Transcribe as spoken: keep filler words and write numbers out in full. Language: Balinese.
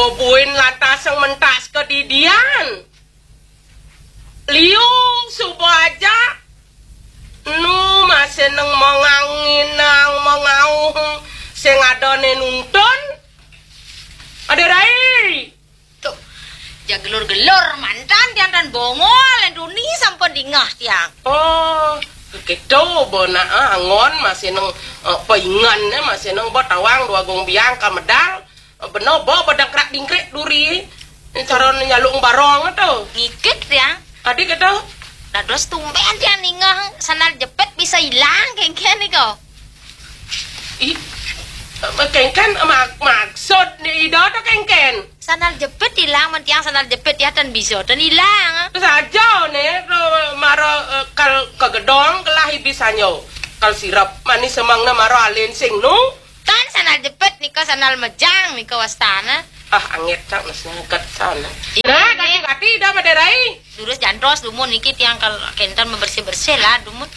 Buin lantas sing mentas kedidian. Liu suba aja. Nu masih neng menganginang, mengauh, sing ada ne nuntun. Ada rai. Tuh, ja gelur-gelur mantan tiang tan bongol, yang duni sampun dingah tiang. Oh, gitu, bona, ah, angon masih neng, eh, paingan, eh, masih neng ba tawang dua gong biang ka medal. Eh, bena ba badang krak dingkrik duri. Ini cara nyalung barong tu. Ngikit tiang. Adi gitu. Dados tumben tiang ningah sandal jepit bisa ilang kengken niko. Ih, kengken mak-, maksud ni ida tu kengken. Sandal jepit ilang, men tiang sandal jepit ya tan bisa, tan ilang. Saja ne, tu mara, eh, kal kegedong kelah ibis sanyo. Kal sirap manis semang ne mara alin sing nu. Tan sandal jepit nika sandal mejang nika wastana. Ah, angit cak nas nangkat sana. Ih, nah, gati-gati dah maderai. Durus jantos dumun niki tiang kal kenten membersih-bersih lah dumun.